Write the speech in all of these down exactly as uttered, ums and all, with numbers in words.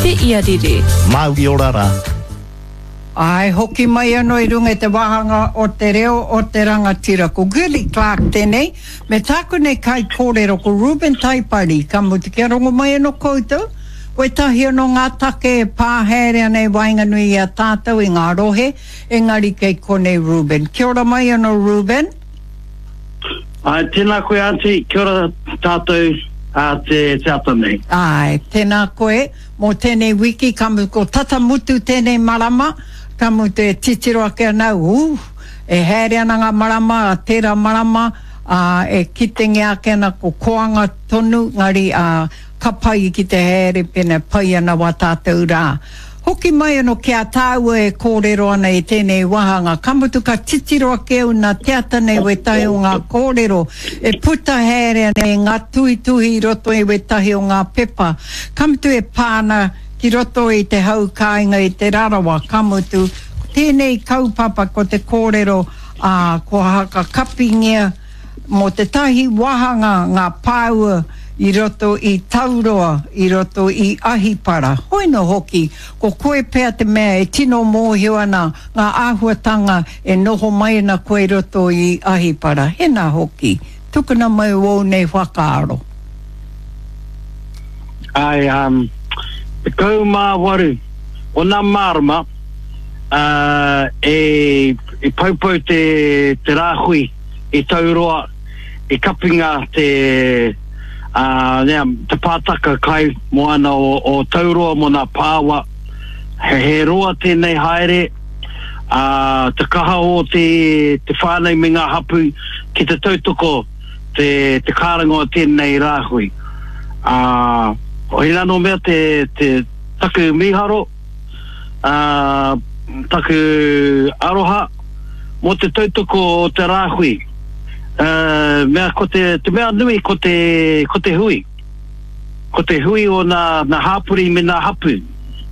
Te Iarere. Mauri ora rā. Āe, hoki mai anō i runga i te wāhanga o te reo o te rangatira. Ko Girlie Clarke tēnei, me tāku nei kaikōrero ko Reuben Taipari, ka mutu kia rongo mai anō koutou, wētahi anō ngā take e pā haere ana i waenganui i a tātou i ngā rohe, engari kei konei Reuben. Kia ora mai anō Reuben. Āe, tēnā koe Aunty, kia ora tātou ā te te ata nei. Āe, tēnā koe mō tēnei wiki, ka mutu ko tata mutu tēnei marama, ka mutu e titiro ake ana au, ooh, e haere ana ngā marama, a tērā marama, ā, e kitengia ake ana ko koanga tonu, ngari, ā, ka pai ki te haere pēnā pai ana wā tātou rā. Hoki mai anō ki a tāua e kōrero ana i tēnei wāhanga, ka mutu ka titiro ake au nā te ata nei wētahi o ngā kōrero e puta haere ana i ngā tuhituhi i roto i wētahi o ngā pepa, ka mutu e pā ana ki roto i te hau kāinga i Te Rarawa, ka mutu, ko tēnei kaupapa ko te kōrero, ā, kua hakakapingia mō tētahi wāhanga ngā pāua i roto i Tauroa, i roto i Ahipara. Hoino hoki, ko koe pea te mea e tino mōhio ana ngā āhuatanga e noho mai ana koe i roto i Ahipara. Hena hoki, tukuna mai wōu nei whakaaro. Āe, um, tekau mā waru o nā marama, uh, e, e poupou te, te rāhui i Tauroa, i kapinga te, ā, nea, te pātaka kai moana o, o Tauroa mō nā pāua. He, he roa tēnei haere, ā, te kaha o te, te whānau me ngā hapū ki te tautoko te, te kārango o tēnei rāhui. Ā, hoi anō mea te, te, taku mīharo, ā, taku aroha mō te tautoko o te rāhui. Ā, mea ko te, te mea nui ko te, ko te hui. Ko te hui o nā, nā hāpori me nā hapū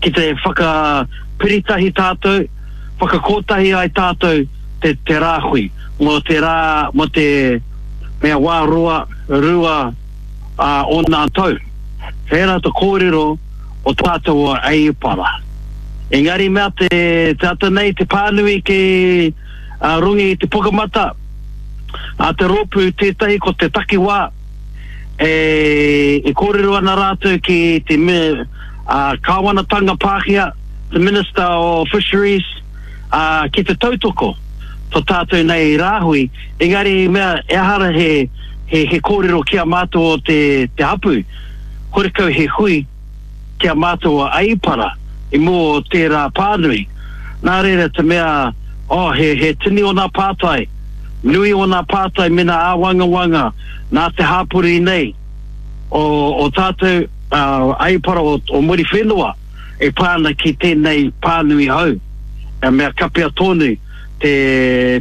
ki te whakapiritahi tātou, whakakōtahi ai tātou te, te rāhui mō te rā, mō te mea wā roa, rua, ā, o nā tau. Hērā te kōrero o tātou o Aipara. Engari mea te, te ata nei te pānui ki a runga i te pukamata a te rōpū tētahi ko te takiwā e, e kōrero ana rātou ki te me, a, kāwanatanga Pākehā, te Minister of Fisheries, a, ki te tautoko to tātou nei rāhui, engari mea ehara he, he, he kōrero ki a mātou o te, te hapū, horekau he hui ki a mātou a Aipara i mua o tērā pānui. Nā reira te mea, oh, he, he tini o nā pātai, nui o nā pātai me nā āwangawanga nā te hāpori nei o, o tātou uh, Aipara o, o Muriwhenua e pā ana ki tēnei pānui hou. E mea kapea tonu te,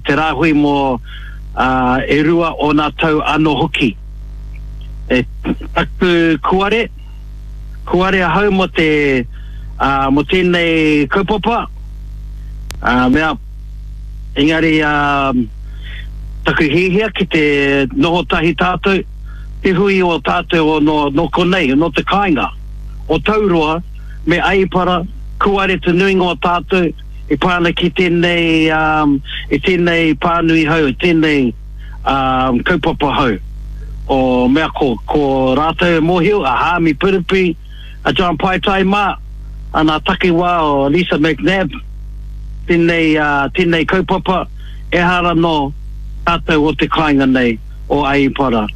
te rāhui mō uh, e rua o nā tau anō hoki. E taku kuare, kuare ahau mō te, ā, mō tēnei kaupapa, ā, mea, engari, ā, taku hiahia ki te noho tahi tātou, te hui o tātou o nō, nō konei, nō te kāinga, o Tauroa me Aipara, kuare te nuinga o tātou e pā ana ki tēnei, ā, i tēnei pānui hou, i tēnei, ā, kaupapa hou. O mea ko, ko rātou e mōhio, a Haami Piripi, a John Paitai mā, a nā takiwā o Lisa McNab, tēnei, ā, tēnei kaupapa, ehara nō tātou o te kāinga nei, o Aipara.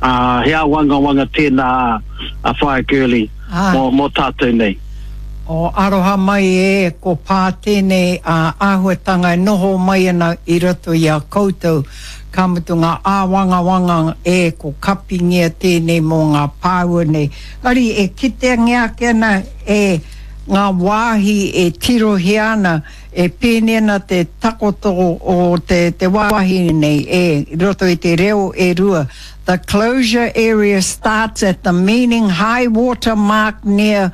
Ā, he āwangawanga tēnā a, a Whaea Gurley mō, mō tātou nei. O aroha mai e, ko pā tēnei āhuatanga e noho mai ana i roto i a koutou, ka mutu ngā āwangawanga e, ko kapingia tēnei mō ngā pāua nei. Engari e kiteangia ake ana e ngā wāhi e tirohia ana, e pēnei ana te takoto o te, te wāhi nei e, i roto i te reo e rua, The closure area starts at the meaning high water mark near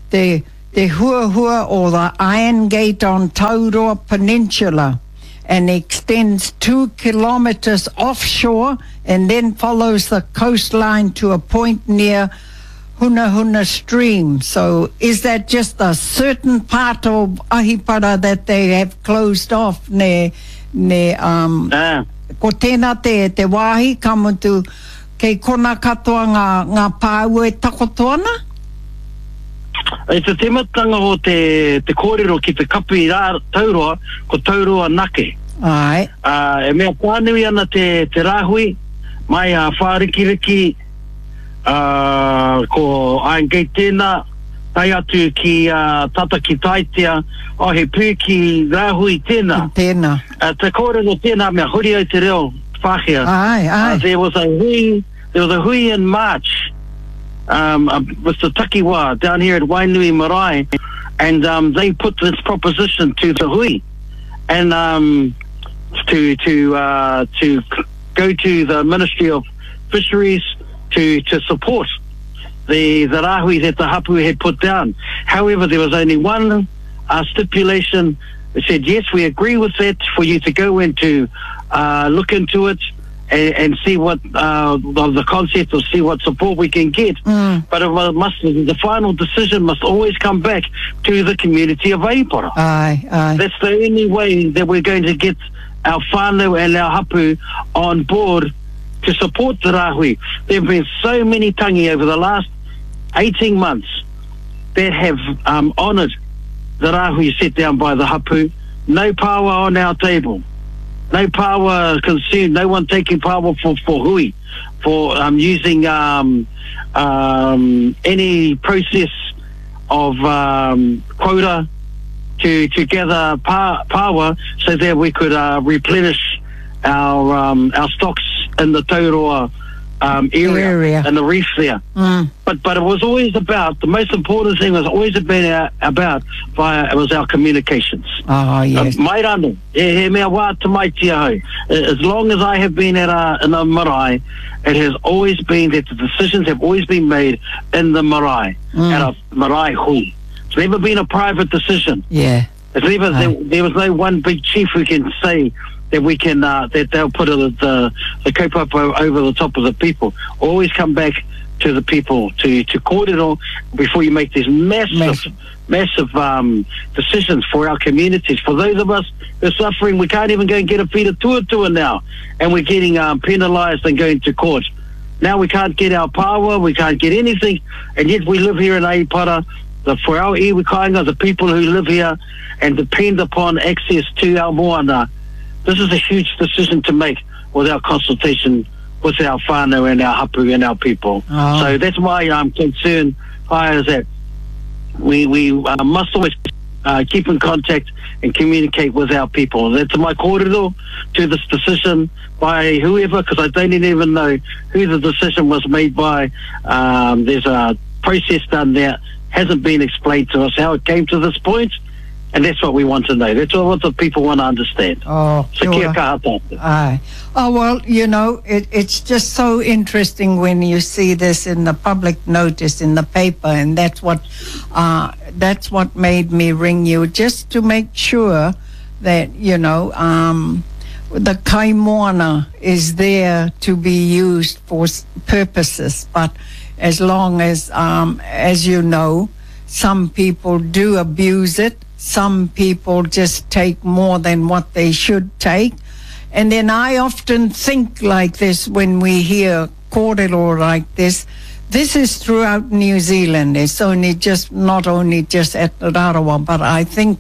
te te huahua o the Iron Gate on Tauroa Peninsula and extends two kilometres offshore and then follows the coastline to a point near Hunahuna stream. So is that just a certain part of Ahipara that they have closed off? Ne, ne, um, Ah. ko tēnā te, te wāhi, ka mutu, kei kona katoa ngā, ngā pāua e takoto ana? I te tematanga o te, te kōrero ki te kapi rā tauroa, ko tauroa nake. Ai. Uh, e mea pānui ana te, te rāhui, mai a Whārikiriki, uh, ko Iron Gate tēnā, tae atu ki uh, Tata ki Taitea, oh, he pū ki rāhui tēnā. Tēnā. Uh, te kōrero tēnā mea huri au te reo Pākehā. Ai, ai. Uh, there was a hui, there was a hui in March um, uh, with the takiwa down here at Wainui Marae, and um, they put this proposition to the hui, and um, to to uh, to go to the Ministry of Fisheries to to support the the rāhui that the hapu had put down. However, there was only one uh, stipulation. It said, yes, we agree with that, for you to go and to uh, look into it and, and see what uh, the, the concept or see what support we can get. Mm. But it must, the final decision must always come back to the community of Ahipara. Ai, ai. That's the only way that we're going to get our whānau and our hapu on board to support the rāhui. There have been so many tangi over the last eighteen months that have um, honoured the rāhui set down by the hapu. No power on our table. No power consumed. No one taking power for, for hui, for um, using um, um, any process of um, quota to, to gather pa- power so that we could uh, replenish our um, our stocks in the Tauroa um, area, Area. and the reef there. Mm. But but it was always about, the most important thing was always about, about via, it was our communications. Oh, yes. Uh, mai rano, e he mea wā te mai tia hau. As long as I have been at a, in a marae, it has always been that the decisions have always been made in the marae, Mm. at a marae hui. It's never been a private decision. Yeah. It's never, Aye. there, there was no one big chief who can say that we can, uh, that they'll put a, the, the kaupapa over the top of the people. Always come back to the people, to, to kōrero before you make these massive, Massive. massive um, decisions for our communities. For those of us who are suffering, we can't even go and get a feed of tuatua now, and we're getting um, penalised and going to court. Now we can't get our power, we can't get anything, and yet we live here in Ahipara. The, for our iwi kāinga, the people who live here and depend upon access to our moana, this is a huge decision to make without consultation with our whānau and our hapu and our people. Oh. So that's why I'm concerned, is that we, we uh, must always uh, keep in contact and communicate with our people. That's my kōrero to this decision by whoever, because I don't even know who the decision was made by. Um, there's a process done there, hasn't been explained to us how it came to this point, and that's what we want to know. That's what the people want to understand. Oh, So kia kia ora. kaha tātou. Aye. Oh, well, you know, it, it's just so interesting when you see this in the public notice in the paper, and that's what, uh, that's what made me ring you, just to make sure that, you know, um, the kaimoana is there to be used for s- purposes, but as long as, um, as you know, some people do abuse it. Some people just take more than what they should take. And then I often think like this when we hear kōrero like this. This is throughout New Zealand. It's only just not only just at Rarawa, but I think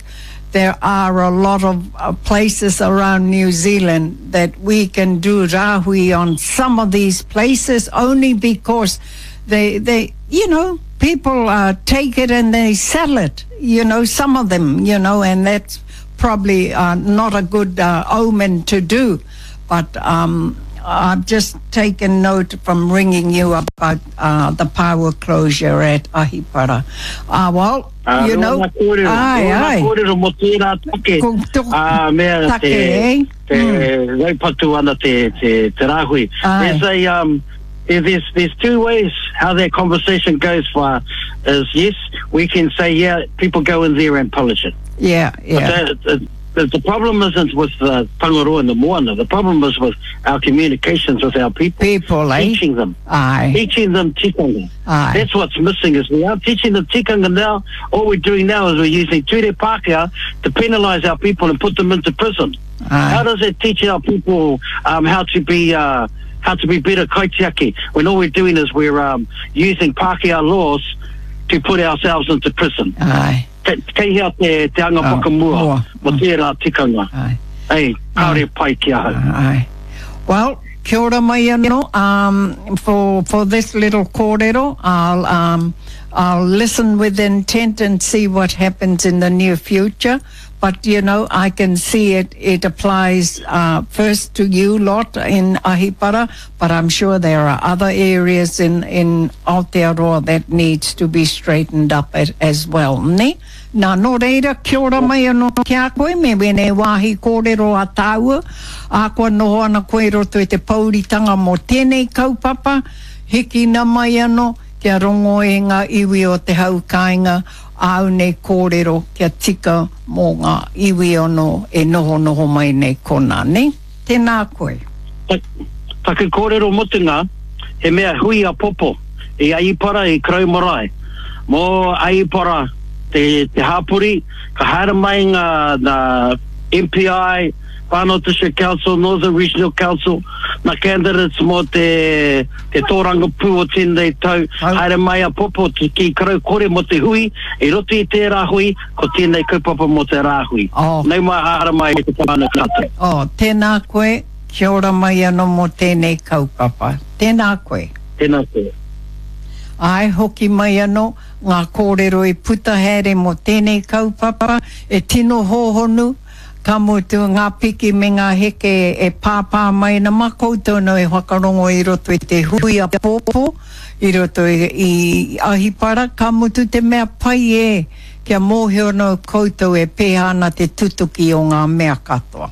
there are a lot of uh, places around New Zealand that we can do rāhui on some of these places only because they, they you know, people uh, take it and they sell it, you know, some of them, you know, and that's probably uh, not a good uh, omen to do. But um, I've just taken note from ringing you about uh, the power closure at Ahipara. Uh, well, Uh, you know, Rōna kōrero, aye, rōna aye. kōrero mō tērā take. Ko tō Ah, mea take, te, eh? te Mm. raupatu ana te, te, te rāhui. Aye. There's a, um, there, there's, there's two ways how that conversation goes for is yes, we can say, yeah, people go in there and pillage it. Yeah, yeah. But that, The, the problem isn't with the Tangaroa and the moana. The problem is with our communications with our people. People, eh? Teaching them. Aye. Teaching them tikanga. Aye. That's what's missing is we aren't teaching them tikanga now. All we're doing now is we're using ture Pākehā to penalise our people and put them into prison. Aye. How does it teach our people um, how to be uh, how to be better kaitiaki when all we're doing is we're um, using Pākehā laws to put ourselves into prison? Aye. Kei kei hea te, te anga Oh, whakamua mua. mo tērā tikanga. Aye. Ei, kāore pai ki ahau. Aye. Well, kia ora mai anō, um, for, for this little kōrero. I'll, um, I'll listen with intent and see what happens in the near future. But, you know, I can see it, it applies uh, first to you lot in Ahipara, but I'm sure there are other areas in, in Aotearoa that needs to be straightened up as, as well, ne? Nā, nō reira, kia ora mai anō ki a koe, me wēnei wāhi kōrero a tāua, a kua noho ana koe i roto i te pouritanga mō tēnei kaupapa, hikina mai anō, kia rongo e ngā iwi o te hau kāinga, āu nei kōrero kia tika mō ngā iwi anō e nohonoho mai nei konā, ne? Tēnā koe. Taku kōrero mutunga, he mea hui a Popo i Ahipara i Karau Marae. Mō Ahipara te, te hapori, ka haere mai ngā, ngā M P I, Whānau District Council, Northern Regional Council, ngā candidates mō te, te tōrangapū o tēnei tau, Tau. haere mai a Popo ki ki Karau Kore mō te hui, i roto i tērā hui, ko tēnei kaupapa mō te rāhui. Oh. Nau mai haere mai te whānau katoa. Oh, tēnā koe, kia ora mai anō mō tēnei kaupapa. Tēnā koe. Tēnā koe. Ai, hoki mai anō, ngā kōrero i puta haere mō tēnei kaupapa, e tino hōhonu, ka mutu ngā piki me ngā heke e pāpā mai ana mā koutou nō e whakarongo i roto i te hui a Pōpō, i roto i, i Ahipara, ka mutu te mea pai e, kia mōhio nō koutou e pēhā ana te tutuki o ngā mea katoa.